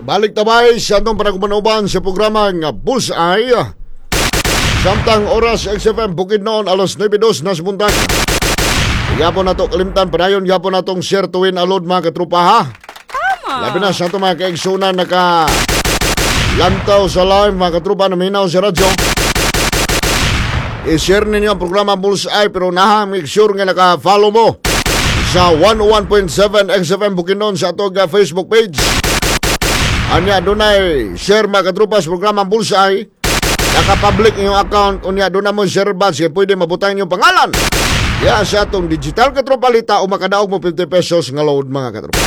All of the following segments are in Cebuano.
Balik tabay sa atong panagumanoban sa programa nga Bullseye. Samtang oras XFM Bukidnon, alas 9:02 na sa buntag. Yapon nato kalimtan, padayon yapon natong share tuwin alod, mga katrupa, ha. Tama. Labi na sa atong mga kaigsunan naka lantaw sa live, mga katrupa, na minaw sa radyo. I-share ninyo ang programa Bullseye, pero naha make sure nga naka-follow mo sa 101.7 XFM Bukidnon sa atong Facebook page. Anya dunay share, mga katrupa, sa programa Bullseye. Naka-public inyong account, unya doon na mo share badge kaya pwede mabutang inyong pangalan. Ya sa atong digital katropalita o makadaog mo 50 pesos nga load, mga katropa.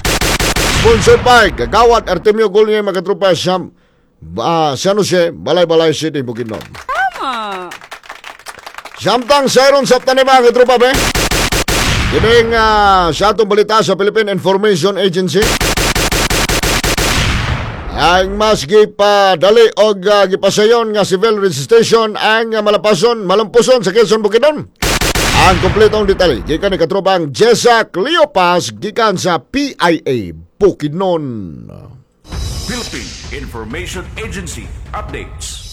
Sponsored by Kagawad Artemio Gulye, mga katropa, sa San Jose, Balay-Balay City, Bukidnon. Tama. Samtang sayron sa tanim, mga katropa be. Kining sa atong balita sa Philippine Information Agency. Ang mas gipadali og gipasayon nga civil registration ang malapason, malampuson sa Quezon, Bukidnon. Ang kompletong detalye gikan ni katropang Jessa Cleopas gikan sa PIA Bukidnon. Philippine Information Agency updates.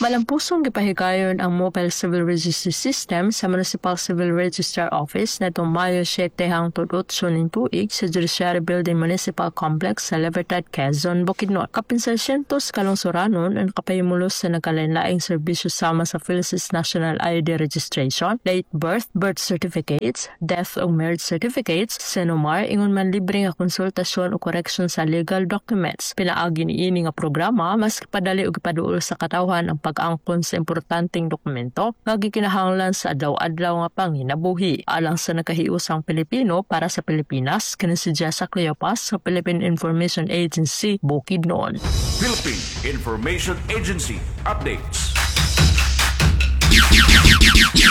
Malampusong gipahigayon ang Mobile Civil Registry System sa Municipal Civil Registrar Office netong Mayo 7 hangtod 8 ning tuig sa Judiciary Building Municipal Complex sa Libertad, Quezon, Bukidnon. Kapin sa syentos kalungsuranon ang kapahimulos sa nagkalain-laing serbisyo sama sa PhilSys National ID Registration, late birth, birth certificates, death o marriage certificates, CENOMAR, ingon man libre nga konsultasyon o correction sa legal documents. Pinaagi niini nga programa, mas padali ug ipaduol sa katawhan ang pag-angkon sa importanteng dokumento nga gikinahanglan sa adlaw-adlaw nga panginabuhi. Alang sa nakahiusang Pilipino para sa Pilipinas, kini si Jessa Cleopas sa Philippine Information Agency, Bukidnon. Philippine Information Agency updates.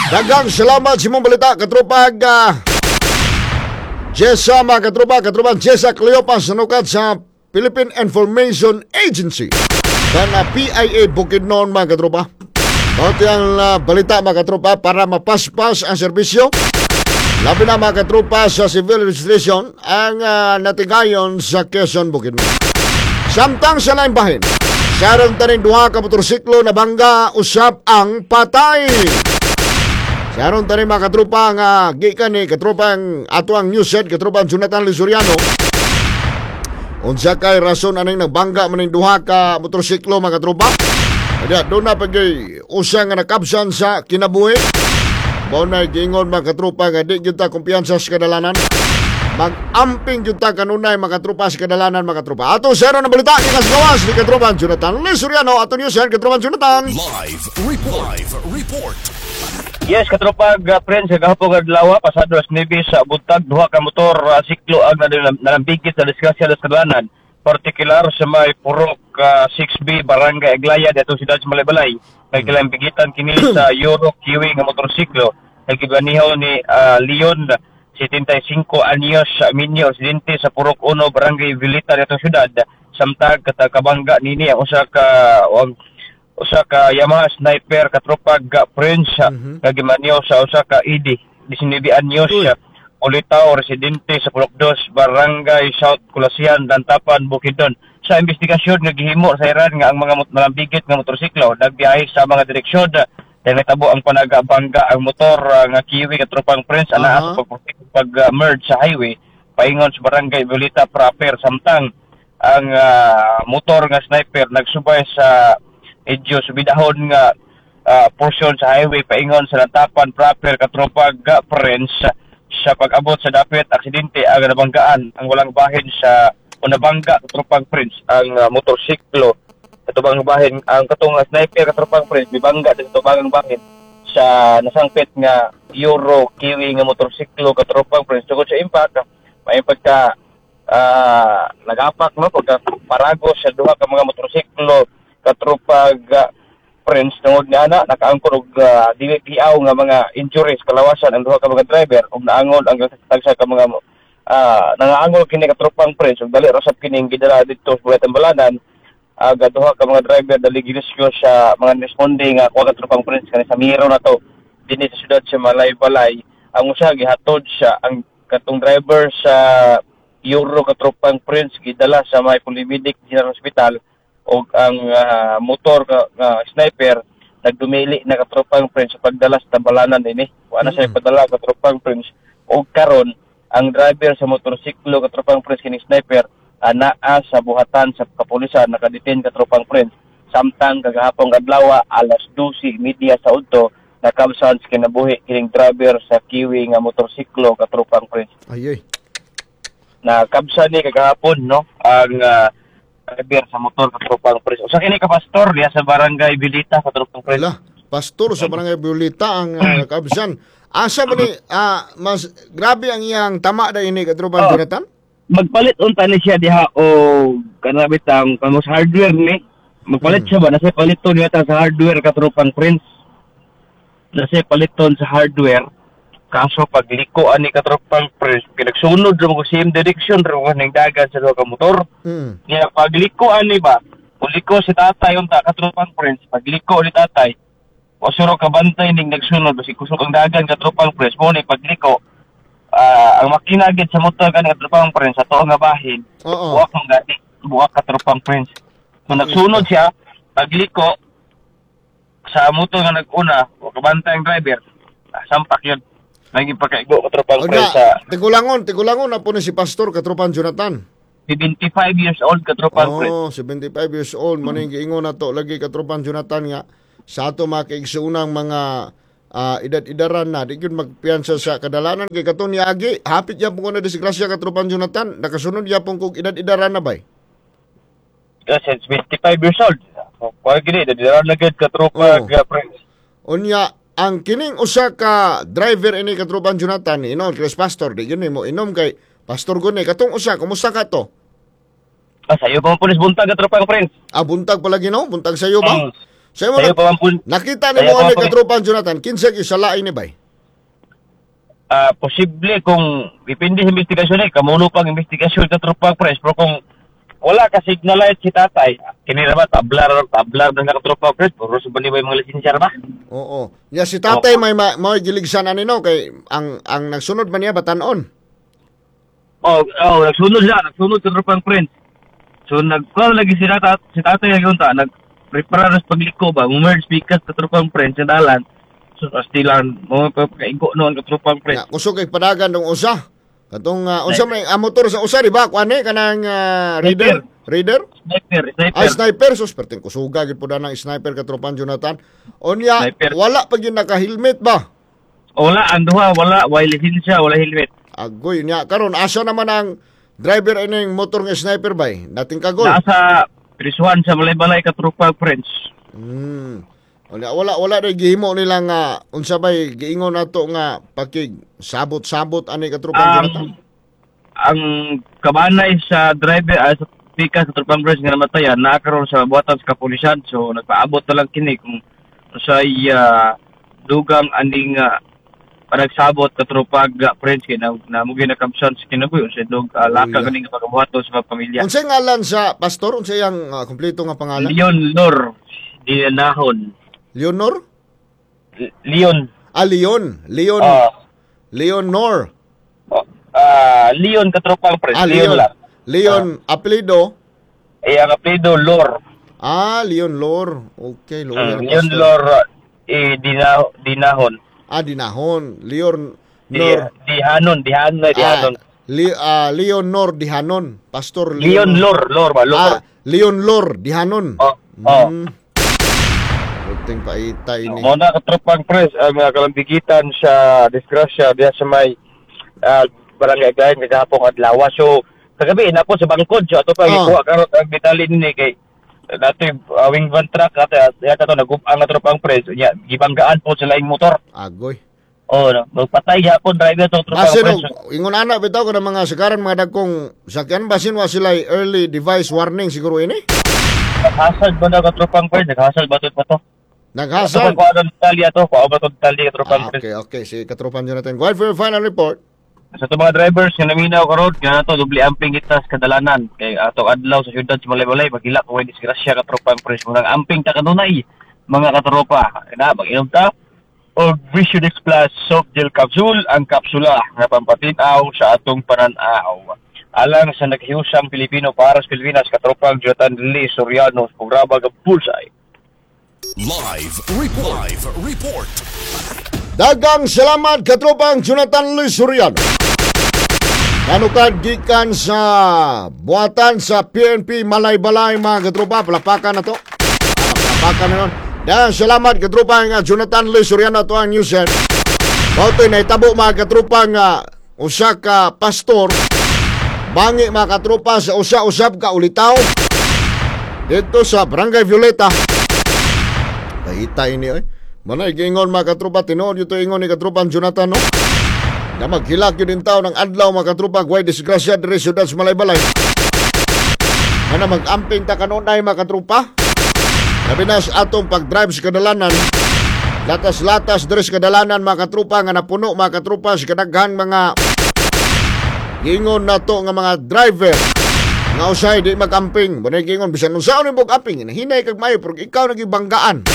Daghang salamat sa imong balita, katropag Jessa, mga katropa, katropa Jessa Cleopas nanukat sa Philippine Information Agency. Kana PIA Bukidnon, mga katropa. Mao ang balita, mga katropa, para mapaspas ang serbisyo. Labi na, mga katropa, sa civil registration ang natigayon sa Quezon, Bukidnon. Samtang sa laing bahin, saron taning duha ka motorsiklo na bangga, usab ang patay. Saron tani, mga katropa, nga gikan ni katropang ato ang news head, katropang Jonathan Lisuriano. Unsa kay rason aning nagbangga man ning duha ka motorsiklo, mga katropa? Kaya doon na pag usa nga nakabsan sa kinabuhi. Mao na giingon, mga katropa, nga di gyud ta kumpiyansa sa kadalanan. Mag-amping gyud ta kanunay, mga katropa, sa kadalanan, mga katropa. Ato sero na balita gikan sa gawas ni katropa Jonathan Lisuriano. Ato news head, katropa Jonathan. Live report. Live report. Yes, katropag friends, kagahapon adlaw, pasado alas 9 sa buntag, duha ka motor siklo ang nalambigit sa disgrasya sa kadalanan, partikular sa may Purok 6B, Barangay Aglaya, dito siyudad sa Malaybalay. May kilambigitan kini sa Euro Kiwi nga motorsiklo kay gibaniho ni Leon, 75 anyos, sa Minyo, residente sa Purok 1, Barangay Vilita, dito siyudad. Samtag katabangga nini ang usa ka Yamaha Sniper, katropag Prince, nga gimanyo sa usa ka ED, 19 anyos, Ulitaw, residente sa Purok 2, Barangay South Kulasian, Lantapan, Bukidnon. Sa investigasyon nga gihimo sa iran nga ang mga malambigit nga motorsiklo nagbiyahe sa mga direksyon dahil natabo ang panagabangga ang motor nga Kiwi, katropang Prince, anaa sa pag merge sa highway paingon sa Barangay Violeta proper, samtang ang motor nga Sniper nagsubay sa medyo subidahon nga portion sa highway paingon sa Lantapan proper, katropag Prince. Sa pag-abot sa dapit aksidente ang nabanggaan ang walang bahin sa o nabangga, katropang Prince, ang motorsiklo katubang bahin ang katong Sniper, katropang Prince, mibangga sa tubangang bahin sa nasangpit nga Euro Kiwi nga motorsiklo, katropang Prince. Tungod sa impact, may pagka nagapak, no, pagka parago sa duha ka mga motorsiklo, katropag Prince. Tungod nga ana, nakaangkon og dili giaw nga mga injuries kalawasan ang duha ka mga driver ug naangol ang tagsa ka mga nangaangol kini, katropang Prince, ug dali ra sab kining gidala didto sa Bulay Balanan. Duha ka mga driver dali girescue sa mga responde nga kuha, katropang Prince, kani sa Miro na to dinhi sa syudad sa Malaybalay. Ang usa gihatod sa ang katong driver sa Euro, katropang Prince, gidala sa may Polymedic General Hospital og ang motor nga sniper nagdumili na, katropang Prince, sa pagdala sa tambalanan dinhi. Wa na siya padala, katropang Prince. Og karon ang driver sa motorsiklo, katropang Prince, kining sniper, naa sa buhatan sa kapulisan, nakadetain, katropang Prince. Samtang kagahapon adlaw alas 12:30 sa udto nakabsan sa kinabuhi kining driver sa Kiwi nga motorsiklo, katropang Prince. Ay, ay. Nakabsan ni kagahapon, no, ang driver sa motor, katropang Prince. Usa kini ka pastor diya sa Barangay Bilita, katropang Prince. Ala, pastor sa Barangay Violeta ang kabsan. Asa ba ni mas grabe ang iyang tama da ini, katropang Jonathan? Magpalit unta ni siya diha o kana bitang kamo sa hardware ni. Magpalit siya ba, nasa paliton niya ta sa hardware, katropang Prince. Nasa paliton sa hardware. Kaso pagliko ani, katropang Prince, kinagsunod ra mo, same direction ra mo ning dagan sa duha ka motor. Niya pagliko ani ba, uliko si tatay unta, katropang Prince, pagliko ni tatay, wa suro kabantay ning nagsunod basi kusog ang dagan, katropang Prince. Mo ni pagliko, ang makina gid sa motor kani, katropang Prince, sa tuo nga bahin, buwak mong gani, buwak, katropang Prince. So nagsunod siya, pagliko sa motor nga nag-una, wa kabantay ang driver, sampak yun. Naging pagkaigo, katropang Onya, Prince, sa tigulangon, tigulangon na po ni si pastor, katropang Jonathan. 75 years old, katropang Prince. Oh, 75 years old. Mm. Maning giingon na to lagi, katropang Jonathan, nga sa ato mga kaigsuunang mga edad-edaran na di gyud magpiyansa sa kadalanan kay katon niagi hapit yapon ko na disgrasya, katropang Jonathan, nakasunod yapon kog edad-edaran na bay. Yes, 75 years old. Kuha gini, dadiraw na gid, katropa, Prince. Unya ang kining usa ka driver ini, katropang Jonathan, inom Chris pastor di gyud mo inom kay pastor gud ni katong usa, kumusta ka to? Ah, sayo pa man pulis buntag, katropang Prince. Ah, buntag pala Ginoo, buntag sayo ba? Sayo mo Sayo pa man pun nakita nimo Sayo pa ani man pun- katropang Jonathan, kinsa gyud salain ni bay? Ah, posible kung depende sa investigasyon eh, kamuno pang investigasyon, katropang Prince, pero kung wala ka signal light si tatay, kini ra ba tablar tablar na, katropang Prince, puro sa bali mga lisensya ra ba? Oo. Ya si tatay may may giligsan ani no kay ang nagsunod man niya batanon. Oh, nagsunod siya, nagsunod, katropang Prince. So nagkuha lagi si tatay lagi unta, nag prepare sa pagliko ba, merge pikas, katropang Prince, sa dalan. So astilan mo pagkaigo noon, katropang Prince. Ya kusog kay padagan dong usa. Katong unsa may ang motor sa usa, di ba? Kuan ni kanang reader, reader? Sniper, sniper. Ay, sniper, sus perting kusuga gid po ng sniper, katropan Jonathan. Unya Sniper. wala pa gyud naka-helmet ba? Wala ang duha, wala, wala lisensya, wala helmet. Agoy nya karon asa naman ang driver ining motor nga sniper bay? Nating kagol. Nasa prisuhan sa Malaybalay, katropa Prince. Wala wala wala day gihimo nila nga unsa bay giingon nato nga pakig sabot-sabot ani, katropan Jonathan. Ang kabanay sa driver sa pika sa tropang Prince nga namatayan naa karon sa buhatan sa kapulisan. So nagpaabot na lang kini kung sa dugang aning panagsabot, katropag Prince, kay na, na mugi nakabsan sa kinabuhi sa dug laka kaning pagabuhaton sa mga pamilya. Unsay ngalan sa pastor? Unsay ang kompleto nga pangalan? Leon Lor Dinahon. Leonor? Leon. Ah, Leon. Leon. Leonor. Oh, Leon, katropang Prince. Ah, Leon Leon. lang. Leon apelyido? Eh, ang apelyido Lor. Ah, Leon Lor. Okay, Lor. Leon Lor eh, Dinahon. Ah, Dinahon. Leon Di, Nor. Dihanon, Dihanon, Dihanon. Ah, Leonor Dihanon. Pastor Leon Lor, Lor ba? Lor. Ah, Leon Lor Dihanon. Oh. Puting paita ini. Mo na, katropang Pres, ang mga kalambigitan sa disgrasya diha sa may barangay Agayan kagahapon adlaw. So kagabi na po sa bangkod so ato pa gikuha karon ang detalye ni kay dati wing van truck at yata to nagub-ang, katropang Pres, nya gibanggaan po sa laing motor. Agoy. Oh, no, magpatay gyapon driver to, tropang Basin Pres. og ingon ana bitaw kana mga sagaran mga dagkong sakyan, basin wa sila early device warning siguro ini. Naghasad ba na, katropang Pres? Naghasad ba to pa to? Naghasad. Ato pa kuha detalye ato, kuha ba to detalye, katropang Pres? Okay. Si Katropan Jonathan. Go ahead for your final report. Sa itong mga drivers nga naminaw karon nga nato doble amping kita sa kadalanan kay atong adlaw sa syudad sa Malaybalay maghilak kung may disgrasya, katropang Pres. Munang amping ta kanunay, mga katropa na mag-inom ta og Vision X Plus soft gel capsule, ang kapsula nga pampatinaw sa atong pananaw. Alang sa naghiusang Pilipino para sa Pilipinas, katropang Jonathan Lee Soriano, programa ng Bullseye. Live Report. Live Report. Dagang salamat, katropang Jonathan Luis Soriano. Nanukad gikan sa buhatan sa PNP Malaybalay, mga katropa, palapakan na to. Palapakan na nun. Dagang salamat, katropang Jonathan Luis Soriano, to ang news head. Mao nahitabo, mga katropa, nga usa ka pastor bangi, mga katropa, sa usa-usab ka ulitaw dito sa Barangay Violeta. Kahita ini oy. Manay giingon, mga katropa, tinuod ito ingon ni katropa Jonathan, no. Na maghilak yun din tao ng adlaw, mga katropa, way disgrasya diri siyudad sa Malaybalay. Mana mag-amping ta kanunay, mga katropa. Labi na sa atong pag-drive sa kadalanan. Latas-latas diri sa kadalanan, mga katropa, nga napuno, mga katropa, sa kadaghan mga giingon nato nga mga driver nga usay di mag-amping. Manay giingon bisan unsaon nimo amping, hinay kag maayo pero ikaw nagibanggaan.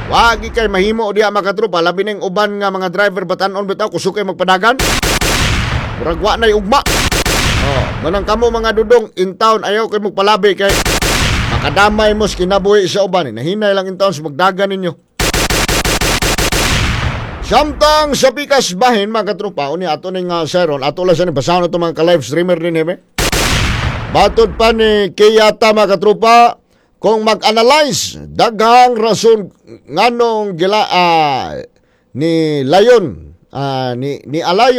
Wagi kay mahimo diya, mga katropa, labi ning uban nga mga driver batan-on bitaw kusog kay magpadagan. Murag wa nay ugma. Oh, manang kamo mga dudong in town, ayaw kay magpalabi kay makadamay mo sa kinabuhi sa uban. Nahinay lang in town sa magdagan ninyo. Samtang sa pikas bahin, mga katropa, uni ato ning Sharon, ato lang sa ni basahon ato mga ka-live streamer din hime. Batod pa ni Kiyata, mga katropa, kung mag-analyze, daghang rason nganong gila ni Layon ni Alayon.